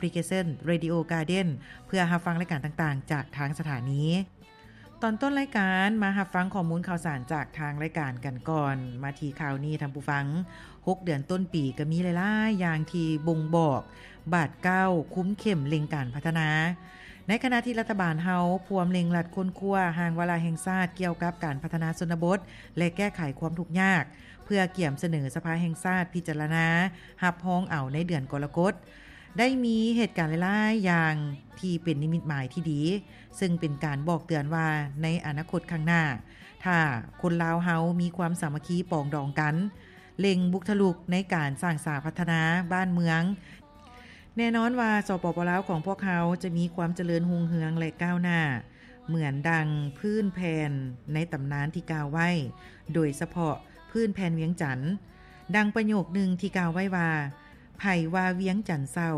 พลิเคชัน Radio Garden ເພື່ອຮັບຟັງລາຍການຕ່າງໆ ຈາກທາງສະຖານີ. ຕອນຕົ້ນລາຍການ ມາຮັບຟັງຂໍ້ມູນຂ່າວສານຈາກທາງລາຍການກັນກ່ອນ. ມາທີ່ຂ່າວນີ້ທ່ານຜູ້ຟັງ, ຫົກເດືອນຕົ້ນປີກໍມີຫຼາຍໆຢ່າງທີ່ບົ່ງບອກບາດກ້າວຄຸມເຂັ້ມເລັ່ງການພັດທະນາ. ໃນຂະນະທີ່ລັດຖະບານເຮົາພວມເລັ່ງລັດຄົ້ນຄວ້າຮ່າງວາລະແຫ່ງຊາດກ່ຽວກັບການພັດທະນາຊົນນະບົດ ແລະ ແກ້ໄຂຄວາມທຸກຍາກ ເພື່ອກຽມສະເໜີສະພາແຫ່ງຊາດພິຈາລະນາຮັບຮອງເອົາໃນເດືອນກໍລະກົດ, ໄດ້ມີເຫດການຫຼາຍໆຢ່າງທີ່ເປັນນິມິດໝາຍທີ່ດີ, ເຊິ່ງເປັນການບອກເຕືອນວ່າໃນອະນາຄົດຂ້າງໜ້າ, ຖ້າຄົນລາວເຮົາມີຄວາມສາມັກຄີປອງດອງກັນ, ເລັ່ງບຸກທະລຸກໃນການສ້າງສາພັດທະນາບ້ານເມືອງ, ແນ່ນອນວ່າ ສປປ ລາວຂອງພວກເຮົາຈະມີຄວາມຈະເລີນຮຸ່ງເຮືອງ ແລະ ກ້າວໜ້າ ເໝືອນດັ່ງພື້ນແຜ່ນໃນຕຳນານທີ່ກ່າວໄວ້, ໂດຍສະເພາະພື້ນແຜ່ນວຽງຈັນ. ດັ່ງປະໂຫຍກໜຶ່ງທີ່ກ່າວໄວ້ວ່າ, ໃຜວ່າວຽງຈັນເສົ້າ,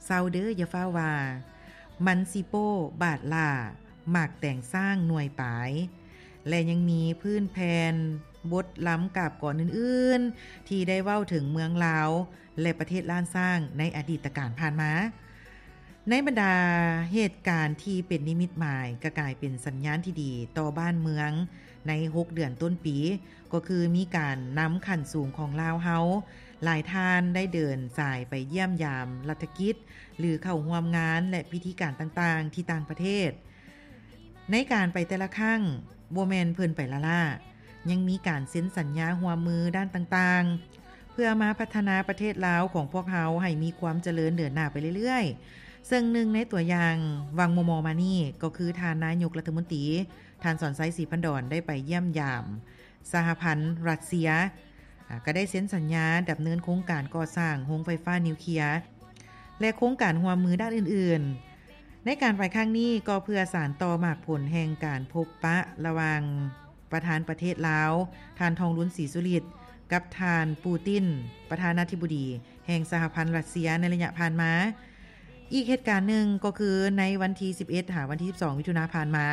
ເສົ້າເດີ ຢ່າຟ້າວວ່າ, ມັນຊິໂປ້ບາດຫຼ້າ, ໝາກແຕງຊ້າງໜ່ວຍປາຍ. ແລະ ຍັງມີພື້ນແຜ່ນບົດລຳກາບກອນອື່ນໆ ທີ່ໄດ້ເວົ້າເຖິງເມືອງລາວ ແລະ ປະເທດລ້ານຊ້າງໃນອະດີດຕະການຜ່ານມາ. ໃນບັນດາເຫດການທີ່ເປັນນິມິດໝາຍ ກໍກາຍເປັນສັນຍານທີ່ດີຕໍ່ບ້ານເມືອງໃນຫົກເດືອນຕົ້ນປີ, ກໍຄືມີການນຳຂັ້ນສູງຂອງລາວເຮົາ, ຫຼາຍທ່ານໄດ້ເດີນສາຍໄປຢ້ຽມຢາມລັດຖະກິດ ຫຼື ເຂົ້າຮ່ວມງານ ແລະ ພິທີການຕ່າງໆທີ່ຕ່າງປະເທດ. ໃນການໄປແຕ່ລະຄັ້ງ ບໍ່ແມ່ນເພິ່ນໄປລ້າໆ, ຍັງມີການເຊັນສັນຍາຮ່ວມມືດ້ານຕ່າງໆ ເພື່ອມາພັດທະນາປະເທດລາວຂອງພວກເຮົາໃຫ້ມີຄວາມຈະເລີນເດີນໜ້າໄປເລື້ອຍໆ. ເຊິ່ງໜຶ່ງໃນຕົວຢ່າງຫວ່າງມໍ່ໆມານີ້ ກໍຄືທ່ານນາຍົກລັດຖະມົນຕີ ທ່ານ ສອນໄຊ ສີພັນດອນ ໄດ້ໄປຢ້ຽມຢາມ ສະຫະພັນຣັດເຊຍ, ອາ, ກໍໄດ້ເຊັນສັນຍາດຳເນີນໂຄງການກໍ່ສ້າງໂຮງໄຟຟ້ານິວເຄຍ ແລະ ໂຄງການຮ່ວມມືດ້ານອື່ນໆ. ໃນການໄປຄັ້ງນີ້ກໍເພື່ອສານຕໍ່ໝາກຜົນແຫ່ງການພົບປະລະຫວ່າງປະທານປະເທດລາວ ທ່ານ ທອງລຸນ ສີສຸລິດ ກັບທ່ານ ປູຕິນ ປະທານາທິບໍດີແຫ່ງສະຫະພັນຣັດເຊຍໃນໄລຍະຜ່ານມາ. ອີກເຫດການໜຶ່ງກໍຄືໃນວັນທີສິບເອັດ ຫາວັນທີສິບສອງ ມິຖຸນາຜ່ານມາ,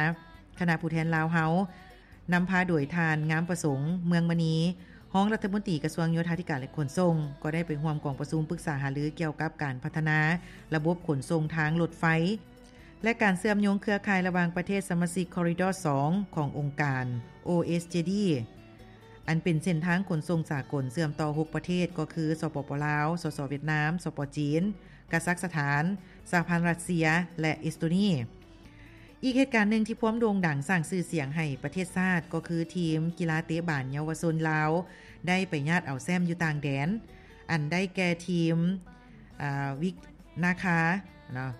ຄະນະຜູ້ແທນລາວເຮົາ ນຳພາໂດຍທ່ານ ງາມປະສົງ ເມືອງມະນີ ຮອງລັດຖະມົນຕີກະຊວງໂຍທາທິການ ແລະ ຂົນສົ່ງ ກໍໄດ້ໄປຮ່ວມກອງປະຊຸມປຶກສາຫາລືກ່ຽວກັບການພັດທະນາລະບົບຂົນສົ່ງທາງລົດໄຟ ແລະ ການເຊື່ອມໂຍງເຄືອຂ່າຍລະຫວ່າງປະເທດສະມາຊິກ Corridor ສອງ ຂອງອົງການ ໂອເອສເຈດີ ອັນເປັນເສັ້ນທາງຂົນສົ່ງສາກົນເຊື່ອມຕໍ່ຫົກປະເທດ ກໍຄື ສປປ ລາວ, ສສ ຫວຽດນາມ, ສປ ຈີນ, ກາຊັກສະຖານ, ສະຫະພັນຣັດເຊຍ ແລະ ເອສໂຕນີ. ອີກເຫດການໜຶ່ງທີ່ພວມໂດ່ງດັງສ້າງຊື່ສຽງໃຫ້ປະເທດຊາດ ກໍຄືທີມກິລາເຕະບານເຍົາວະຊົນລາວ ໄດ້ໄປຍາດເອົາແຊ້ມຢູ່ຕ່າງແດນ, ອັນໄດ້ແກ່ທີມ ອາ ວິກນາຄາເນາະ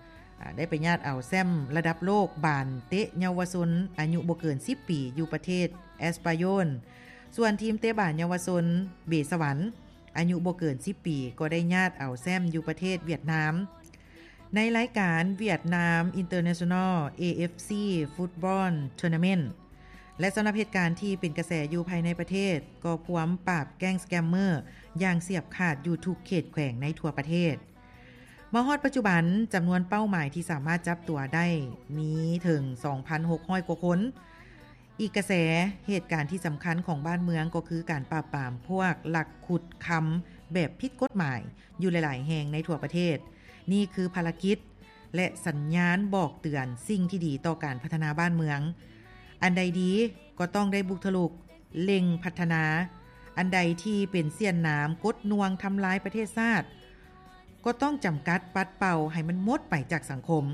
ອາ ໄດ້ໄປຍາດເອົາແຊ້ມລະດັບໂລກບານເຕະເຍົາວະຊົນອາຍຸບໍ່ເກີນສິບປີ ຢູ່ປະເທດແອັສປາໂຍນ. ສ່ວນທີມເຕະບານເຍົາວະຊົນເບສະຫວັນ ອາຍຸບໍ່ເກີນສິບປີ ກໍໄດ້ຍາດເອົາແຊ້ມຢູ່ປະເທດຫວຽດນາມ ໃນລາຍການ Vietnam International ເອເອັຟຊີ Football Tournament. ແລະ ສຳລັບເຫດການທີ່ເປັນກະແສຢູ່ພາຍໃນປະເທດ ກໍພວມປາບແກ້ງສະແກມເມີຢ່າງສຽບຂາດຢູ່ທຸກເຂດແຂວງໃນທົ່ວປະເທດ. ມາຮອດປັດຈຸບັນ, ຈຳນວນເປົ້າໝາຍທີ່ສາມາດຈັບຕົວໄດ້ມີເຖິງສອງພັນຫົກຮ້ອຍກວ່າຄົນ. ອີກກະແສ, ເຫດການທີ່ສຳຄັນຂອງບ້ານເມືອງກໍຄືການປາບປາມພວກລັກຂຸດຄຳແບບຜິດກົດໝາຍຢູ່ຫຼາຍໆແຫ່ງໃນທົ່ວປະເທດ. ນີ້ຄືພາລະກິດ ແລະ ສັນຍານບອກເຕືອນສິ່ງທີ່ດີຕໍ່ການພັດທະນາບ້ານເມືອງ. ອັນໃດດີກໍຕ້ອງໄດ້ບຸກທະລຸກ, ເລັ່ງພັດທະນາ. ອັນໃດທີ່ເປັນສ້ຽນໜາມກົດໜ່ວງທຳລາຍປະເທດຊາດ, ກໍຕ້ອງຈຳກັດປັດເປົ່າໃຫ້ມັນໝົດໄປຈາກສັງຄົມ.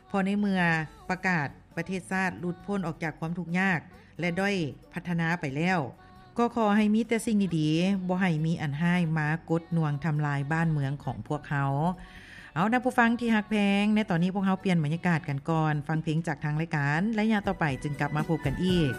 ເພາະໃນເມື່ອປະກາດປະເທດຊາດຫຼຸດພົ້ນອອກຈາກຄວາມທຸກຍາກ ແລະ ດ້ອຍພັດທະນາໄປແລ້ວ, ກໍຂໍໃຫ້ມີແຕ່ສິ່ງດີໆ, ບໍ່ໃຫ້ມີອັນຮ້າຍມາກົດໜ່ວງທຳລາຍບ້ານເມືອງຂອງພວກເຮົາ. ເອົາ ທ່ານຜູ້ຟັງທີ່ຮັກແພງ, ໃນຕອນນີ້ພວກເຮົາປ່ຽນບັນຍາກາດກັນກ່ອນ, ຟັງເພງຈາກທາງລາຍການ, ໄລຍະຕໍ່ໄປຈຶ່ງກັບມາພົບກັນອີກ.